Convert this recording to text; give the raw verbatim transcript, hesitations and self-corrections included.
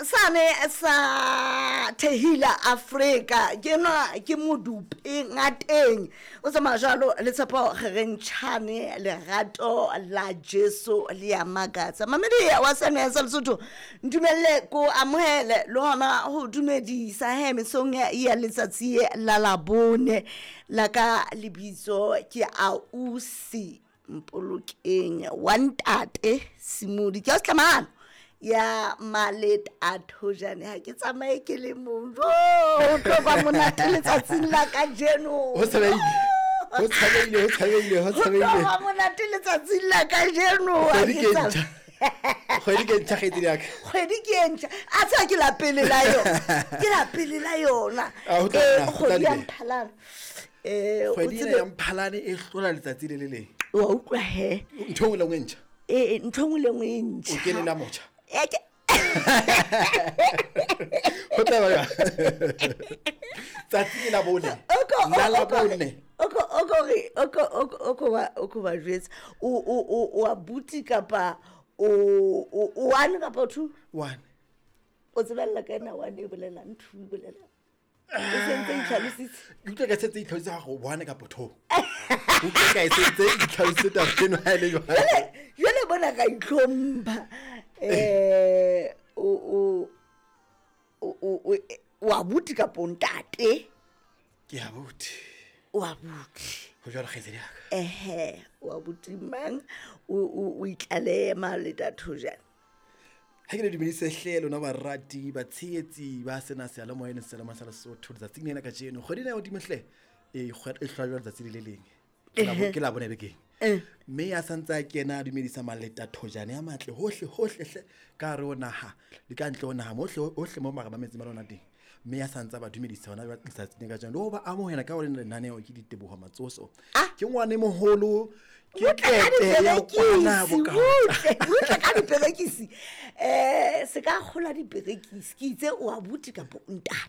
Sane sa Tehila Afrika ke nwa ke modupe ngateng o tsamaya jwalo le Tshepo Kgerentšhane lerato la Jesu le ya makatsa. Mamedi wa sene sa Lesotho, ntumelle ko amohele le hona ho dumedisa he mesong ya letsatsi la Labone. La ka lebitso ke Ausi Mpolokeng wa Ntate Simodi, ke a ya Maleta Thojane. Ha ke tsamaye ke le mong, jo ho tlo ba monate letsatsing la kajeno. Ho tshabeile, ho tshabeile, ho tshabeile, ho ho tlo tshabeile. Ba monate letsatsing la kajeno. Ha Kgwedi ke ke tsam- ntjha. Kgwedi ke ntjha, kgaitsedi ya ka. Kgwedi ke e ntjha, a tseba ke la pele la yona, ke la pele la yona. Ah, ho tla Eh, nna, ho tla kgwedi ya di be. Mphalane, um o Kgwedi ena tsebe ya Mphalane e hlola letsatsi le le leng. Wa utlwa he? Ntho e nngwe le nngwe e ntjha. Ee, ntho e nngwe le nngwe e O ntjha. kene la motjha. Eh, ke- Ho tla ba jwang? Tsatsi ke la bone. Oko- La la oko- bone. oko- oko re- oko- oko- oko ba- oko ba jwetsa. O o- o- o abuti kapa o o- o one kapa two? One. O tsebella ka ena one e bolelang, two e bolelang, e sentse e itlhalositse. Ke utlwa ka setse e itlhalositse gore one kapa two. Ke utlwa ka e sentse e itlhalositse taba eno ha e le jwalo. Jwale jwale bona ka itlhompha, um o o o o- o o abuti kapa o ntate? Ke abuti. O abuti. Ho jwalo, kgaitsedi ya ka. Ehe, o abuti mang? O o o itlalehe Maleta Thojane. Ha ke le dumedise hle lona barati, batshehetsi ba sena seyalemoya le seyalemoya sa Lesotho letsatsing lena kajeno. Kgwedi ena ya hodimo hle e kgwe- e hlola jwalo letsatsi le le leng. Ke la bo- ke la bone bekeng. Eh. Mme ya santse a kena a dumedisa Maleta Thojane ya matle hohle hohle hle ka hare ho naha le ka ntle ho naha, mohle hohle mo mara mametse ba lona teng. Mme ya santse a ba dumedisa hona jwale letsatsing la kajeno le ho ba amohela ka ho lena lenaneo ke Diteboho Matsoso. Ah. Ke ngwane moholo, ke Butle ka tete ya kwana diperekisi, boka. Butle butle ka diperekisi, um se ka kgola diperekisi. Ke itse o abuti kapa o ntate?